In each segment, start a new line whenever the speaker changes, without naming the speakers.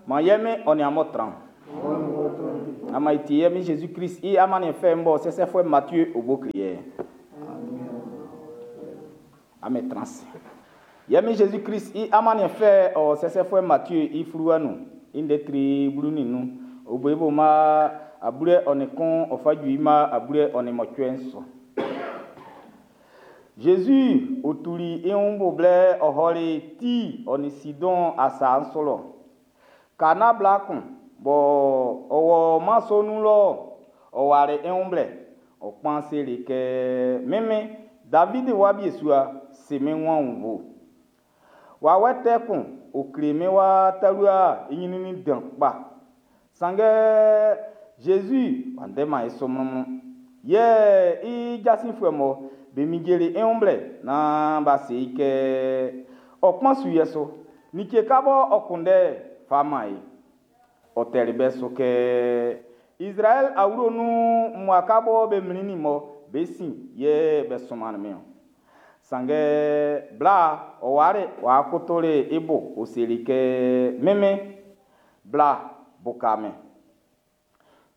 Man ye Min ɔ nin amun tran. Ama i ti ye Min Jésus Christ i amanniɛn fɛ'n bɔ sɛsɛfuɛ Matthieu o bo kle ye. Amen trans. Ye Min Jésus Christ i amanniɛn fɛ ɔ sɛsɛfuɛ Matthieu i fluwa nun i ndɛ tri 15 o bo i bo ma 21 ɔ fa ju i ma 28 su. Jésus o tuli i wun bo blɛ ɔ hɔli Tir ɔ nin Sidɔn asa'n su lɔ. Kana bla kun bɔ ɔ wɔ mɛn sɔ'n nun lɔ, ɔ wali i wun blɛ. Ɔ kpan seli kɛ, Min Min, David wa biesua, si min wun aunnvuɛ. Wawɛ tɛ kun o kle min wa talua i ɲrɛnnɛn dan kpa. Sanngɛ Jésus w'a ndɛman i su mlɔnmlɔn. Yɛ i jasinfuɛ mɔ be minjeli i wun blɛ naan b'a se i kɛ ɔ kpan su yɛ so. Like ka bɔ ɔ kunndɛ fa man e. Ɔ tɛli bɛ su kɛ Izraɛl awlo nun mmua ka bɔ be mlinnin mɔ be sin yɛ be sunmannin min-ɔn. Sanngɛ bla ɔ wari w'a kotoli i bo ɔ seli kɛ, Min Min, bla buka min.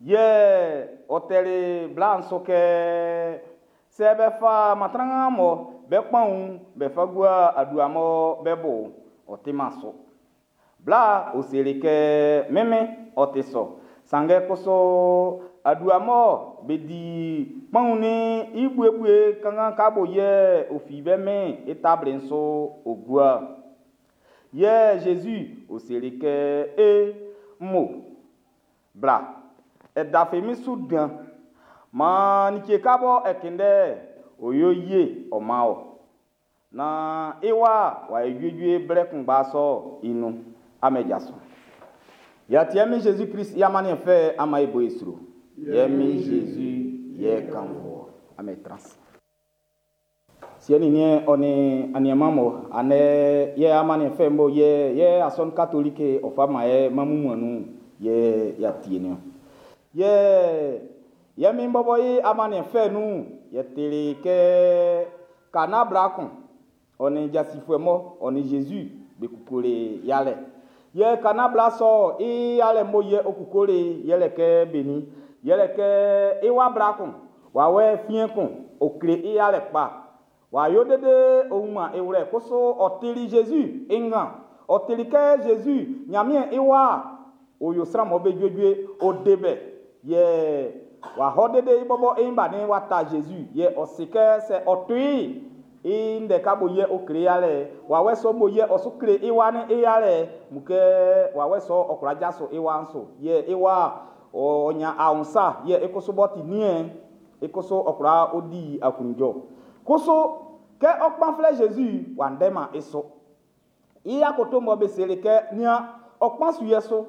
Yɛ ɔ tɛli bla'n su kɛ, sɛ be fa matranga mɔ be kpanwun be fa gua adua mɔ be bo'n, ɔ timan su. Bla ɔ seli kɛ, Min Min, ɔ ti sɔ. Sanngɛ kusu adua mɔ be di kpanwun'n i buebue kanngan ka bo yɛ ɔ fi be min'n i tabli'n su ɔ gua. Yɛ Jésus ɔ seli kɛ, E, mmo, bla, e dafi min su dan. Maan like ka bɔ e kunndɛ ɔ yo ye ɔ man wɔ. Naan i wa w'a yo juejue blɛ kunngba sɔ'n i nun. Amen jaso. Yɛ min Jésus Christ i amanniɛn fɛ ama e bo e sro. Yɛ min Jésus yɛ kanfo. Amen trans. Siɛ nin niɛn ɔ nin aniɛnman mɔ anɛ yɛ amanniɛn fɛ mɔ yɛ yɛ asɔnun katoliki ɔ fa ma yɛ mamu nun yɛ ya tie ni. Yɛ yɛ min bɔbɔ i amanniɛn fɛ nun yɛ tele kɛ kana bla kun ɔ nin jasifuɛ mɔ ɔ nin Jésus be kukule yalɛ. Yɛ kana bla sɔ i yalɛ mɔ yɛ o kukule yɛlɛ kɛ beni yɛlɛ kɛ i wa bla kun wawɛ fiɛn kun o kle i yalɛ kpa. W'a yo dede o wunman i wlɛ kusu ɔ tili Jésus i ngan ɔ tili kɛ Jésus Ɲanmiɛn i wa o yo sran mɔ be juejue o de bɛ yɛ w'a hɔ dede i bɔbɔ i ba ne wa ta Jésus yɛ ɔ si kɛ sɛ ɔ to i i ndɛ ka bo yɛ o kle yalɛ wawɛ sɔ bo yɛ ɔ su kle i wa ne i yalɛ mu kɛ wawɛ sɔ ɔ kwla jaso i wa'n so yɛ i wa ɔ nya ahunsa yɛ i kusu bɔ ti niɛn i kusu ɔ kwla o di aklunjɔ kusu kɛ ɔ kpan flɛ Jésus w'a ndɛma i so i akoto mɔ be seli kɛ nia ɔ kpan su yɛ so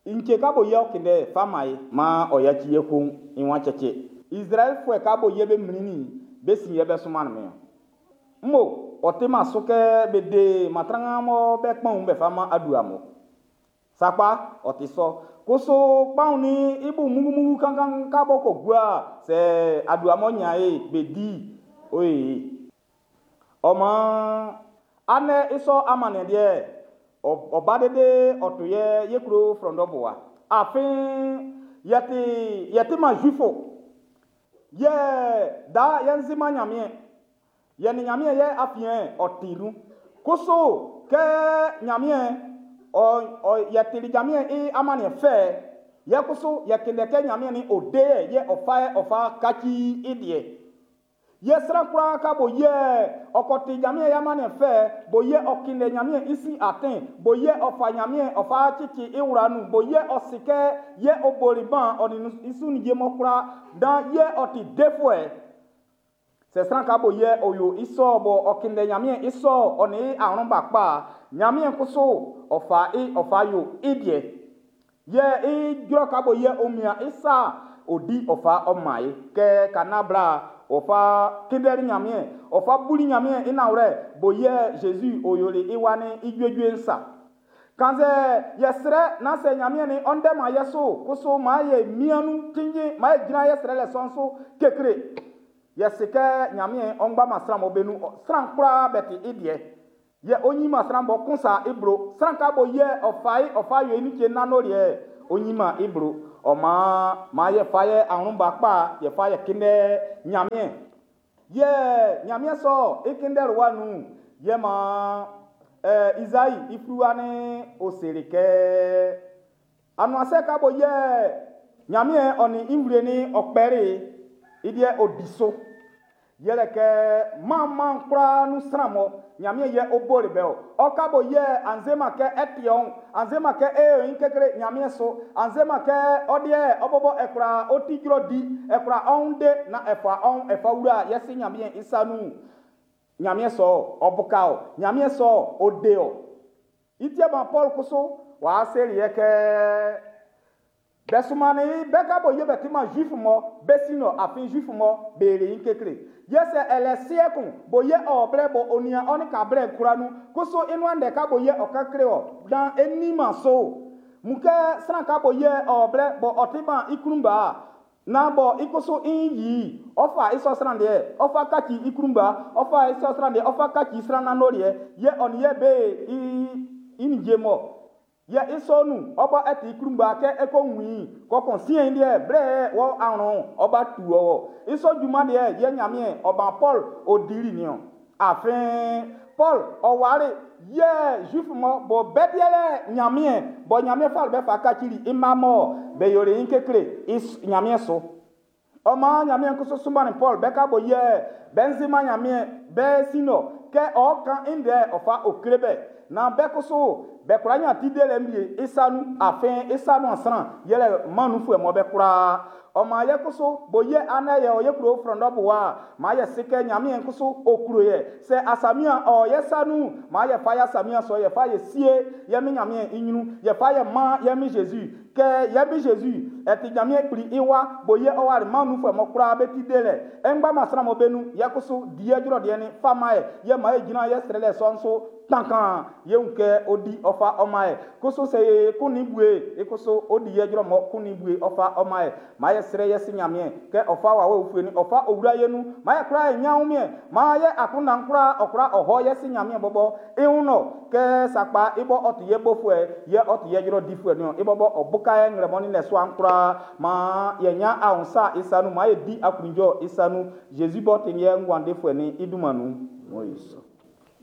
nche ka bo yɛ ɔ kinde fa ma ye ma ɔ yaci ye kun i wan cɛcɛ Izraɛlfuɛ ka bo yɛ be mlinnin be sin yɛ be sunman min mmo ɔ ti ma so kɛ be de matranga mɔ be kpanwun be fa ma adua mɔ sakpa ɔ ti sɔ kusu kpanwun ni i bu mugumugu kankan ka bɔ ko gua sɛ adua mɔ nya ye be di oye ɔmɔ anɛ isɔ amanɛ deɛ ɔba dede ɔto yɛ yekuro frɔndɔ boa afin yɛte yɛte ma juifo yɛ da yɛn ma Ɲanmiɛn yɛ ni Ɲanmiɛn yɛ afiɛn ɔ ti nun kusu kɛ Ɲanmiɛn ɔ ɔ yɛteli Ɲanmiɛn i amanniɛn fɛ yɛ kusu yɛ kele kɛ Ɲanmiɛn ni o de yɛ yɛ ɔfa yɛ ɔfa kaci i deɛ yɛ sran kwlaa ka bo yɛ ɔkɔti Ɲanmiɛn i amanniɛn fɛ bo yɛ ɔkinde Ɲanmiɛn i sin atin bo yɛ ɔfa Ɲanmiɛn ɔfa cici i wura nun bo yɛ ɔsi kɛ yɛ ɔboli ban ɔni i su ni mɔ kwlaa dan yɛ ɔti defuɛ sɛ sran ka bo yɛ ɔyo i sɔ bɔ ɔkinde Ɲanmiɛn i sɔ ɔni ahorɔn kpa Ɲanmiɛn kusu ɔfa i ɔfa yo i deɛ yɛ i jrɔ ka bo yɛ omia i sa odi ɔfa ɔma ye kɛ kana bla ɔfa kindɛli Ɲanmiɛn ɔfa buli Ɲanmiɛn i nawlɛ bo yɛ Jésus oyoli i wa ni i juejue nsa kanzɛ yɛsrɛ na sɛ Ɲanmiɛn ni ɔndɛ ma yɛ so kusu ma yɛ mianu kinjin ma yɛ gyina yɛsrɛ lɛ sɔn so kekre yɛsi kɛ Ɲanmiɛn ɔngba ma sran mɔ be nu sran koraa bɛ ti i deɛ. Yɛ ɔ yiman sran bɔ kun sa i blo. Sran ka bɔ yɛ ɔ fa i ɔ fa yo i like nanndoliɛ, ɔ yiman i blo. Ɔ maan, maan yɛ fa yɛ awlɛn ba kpa, yɛ fa yɛ kunndɛ Ɲanmiɛn. Yɛ Ɲanmiɛn sɔ i kunndɛlɛ wa nun, yɛ maan Izai i fluwa ni ɔ seli kɛ, anuansɛ ka bɔ yɛ Ɲanmiɛn ɔ nin i nvle ni ɔ kpɛli i deɛ ɔ di so. Yɛlɛ kɛ man kwlaa nun sran mɔ Ɲanmiɛn yɛ ɔ boli bɛ o. Ɔ ka bɔ yɛ anzema kɛ ɛti ɔn, anzema kɛ e yin kekle Ɲanmiɛn so, anzema kɛ ɔ deɛ ɔ bɔbɔ ɛkura ɔ ti jrɔ di, ɛkura ɔn de na ɛfa ɔn ɛfa wura yɛsi Ɲanmiɛn i sa nun. Ɲanmiɛn sɔ ɔ buka o, Ɲanmiɛn sɔ ɔ de o. I tiɛ ban Paul kusu wa seli yɛ kɛ bɛ sumani bɛ ka bɔ yɛ bɛ ti ma juif mɔ bɛ si nɔ afin juif mɔ bɛ le yin kekle. Yɛ sɛ ɛlɛ seɛ kun bo yɛ ɔ blɛ bɔ onia ɔni ka blɛ kura nu kusu inua ndɛ ka bo yɛ ɔ ka kle ɔ dan eni ma so. Mun kɛ sran ka bo yɛ ɔ blɛ bɔ ɔ ti ban i klun ba na bɔ i kusu i yi ɔ fa i sɔ sran deɛ ɔ fa kaci i klun ba ɔ fa i sɔ sran deɛ ɔ fa kaci sran nanndoliɛ yɛ ɔ ni yɛ be i ni je mɔ. Yɛ i sɔ nun ɔbɔ ɛti i klun ba kɛ ɛkɔ win kɔkɔn siɛn deɛ blɛ wɔ awɔn ɔba tu ɔ i sɔ junman deɛ yɛ Ɲanmiɛn ɔba Paul ɔ dili niɔ. Afin Paul ɔware yɛ juif mɔ bɔ bɛ deɛ Ɲanmiɛn bɔ Ɲanmiɛn fa bɛ fa kacili i ma mɔ bɛ yoli i kekle i Ɲanmiɛn so. Ɔma Ɲanmiɛn kusu sumani Paul bɛ ka bɔ yɛ bɛnzima Ɲanmiɛn bɛ sinɔ kɛ ɔ kan i ndɛ ɔ fa okle bɛ na bɛ kusu bɛ kura nya ti de lɛ mie i sa nu afin i sa nu asran yɛlɛ manufuɛ mɔ bɛ kura. Ɔma yɛ kusu bo yɛ anɛ yɛ ɔyɛ kuro frɔndɔ bo wa ma yɛ se kɛ Ɲanmiɛn kusu okuro yɛ sɛ asamia ɔ yɛ sa nu ma yɛ fa yɛ asamia sɔ yɛ fa yɛ sie yɛ mi Ɲanmiɛn i ɲrun yɛ fa yɛ ma yɛ mi Jésus kɛ yɛ mi Jésus ɛti Ɲanmiɛn kpli i wa bo yɛ ɔwari manufuɛ mɔ kura bɛ ti de lɛ ɛngba ma sran mɔ bɛ nu yɛ kusu di yɛ dzrɔ deɛ ni fa ma yɛ yɛ ma yɛ gyina yɛ srɛ lɛ sɔn so tankan yɛ ŋu kɛ odi ɔfa ɔma yɛ kusu sɛ ye kun ni bue ekusu odi yɛ dzrɔ mɔ kun ni bue ɔfa ɔma yɛ ma yɛ srɛ yɛ si Ɲanmiɛn kɛ ɔfa wa wɔ ofue ni ɔfa owura yɛ nu ma yɛ kura yɛ nyawo miɛ ma yɛ akundan kura ɔkura ɔhɔ yɛ si Ɲanmiɛn bɔbɔ ihu nɔ kɛ sakpa ibɔ ɔti yɛ bofuɛ yɛ ɔti yɛ dzrɔ difuɛ niɔ ibɔbɔ ɔbuka yɛ ŋlɛmɔni lɛ soan kura ma yɛ nya ahunsa isanu ma yɛ di akunjɔ isanu Jésus bɔ ti yɛ ŋguandefuɛ ni idumanu. Moise.